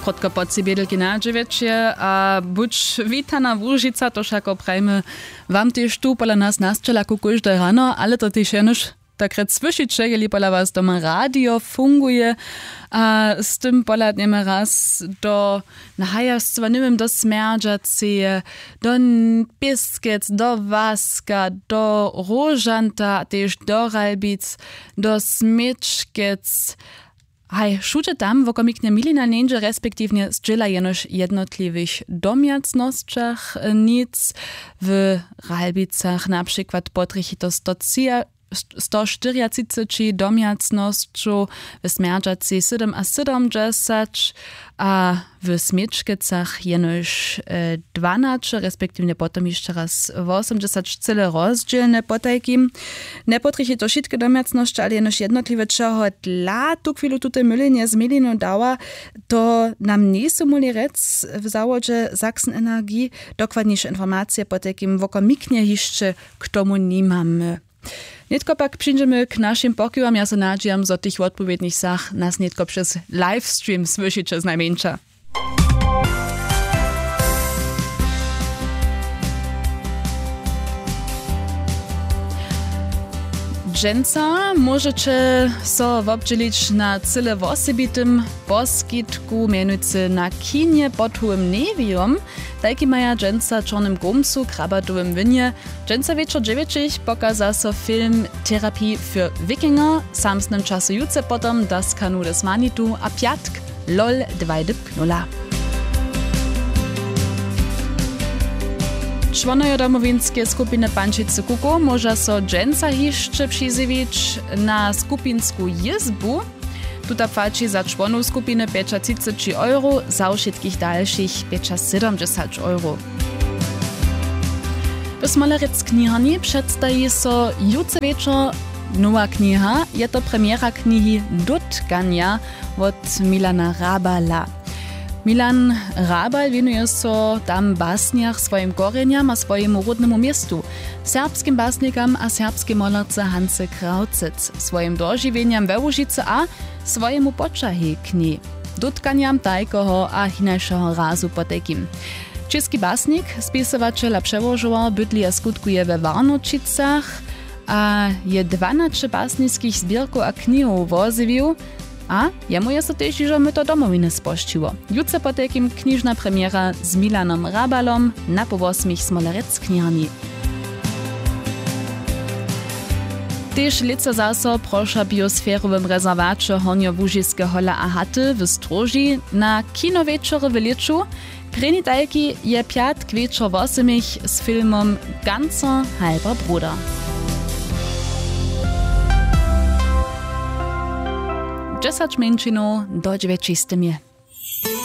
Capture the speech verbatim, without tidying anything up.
Krótko po tři bědelki na dźewjeće a budź witana Łužica, to wšako prajimy wam tež tu pola nas na sćelaku kóžde rano, ale to tež jenož tak rjec słyšiće, jeli pola was doma radio funguje a z tym pola dnjemy raz do nahajastwa, něwěm, do Smjerdźaceje, do N-, Pěskec, do Waska, do Róžanta, tež do Ralbic, do Směčkec. Haj, wšudźe tam wokomiknje milina njeńdźe, respektiwnje zdźěla jenož w jednotliwych domjacnosćach, e, nic. W Ralbicach na přikład potrjechi to sto tři, sto štyriatřiceći domjacnosćow, w Smjerdźacej sydomasydomdźesać a w Směčkecach jenož, e, dwanaće, respektiwnje potom hišće raz wosomdźesać, cyle rozdźělne. Potajkim njepotrjechi to wšitke domjacnosće, ale jenož jednotliwe. Čehodla tuchwilu tute mylenje z milinu dała, to nam njejsu móhli rjec w zawodźe Sachsen Energie. Dokładniše informacije potajkim wokomiknje hišće k tomu nimamy. Nětko pak přińdźemy k našim pokiwam. Ja so nadźijam, zo tych wotpowědnych sach nas nětko přez livestream słyšiće znajmjeńša. Dźensa móžeće so wobdźělić na cyle wosebitym poskitku, mjenujcy na kinje pod Hołym Newiom. Tajki maja dźensa w Čornym Grómcu, Krabatowym Wynje. Dźensa wječor dźewjećich pokaza so film Therapie für Wikinger, w samsnym času jutře potom Das Kanu des Manitu a pjatk Lol dwaj dypk nula. Čłonojo Domowinske skupiny Pančicy Kukow móža so dźensa hišće přizjewić na skupinsku jězbu. Tuta płaći za čłonow skupiny pjećatřiceći euro, za wšitkich dalšich pjećasydomdźesać euro. W Smolerec kniharni předstaji so jutře wječor nowa kniha. Je to premjera knihi Dotkanja wot Milana Rabala. Milan Rabal wěnuje so tam w basnjach swojim korjenjam a swojemu ródnemu městu, serbskim basnikam a serbskej molerce Hance Krawcec, swojim dožiwjenjam we Łužicy a swojemu poćahej k njej, dótkanjam tajkeho a hinašeho razu potajkim. Česki basnik, spisowaćel a přełožowar bydli a skutkuje we Warnoćicach a je dwanaće basniskich zběrkow a knihow wozjewił. A jemu je so tež hižo myto Domowiny spožčiło. Jutře potajkim knižna premjera z Milanom Rabalom na poł wosmich w Smolerec kniharni. Tež lětsa zaso proša w biosferowym rezerwaće Hornjołužiske hola a haty w Stróži na kinowječory w lěću. Prěni tajki je pjatk wječor wosomich z filmom Ganzer halber Bruder. Dźesać mjeńšinow do dźewjećistym je.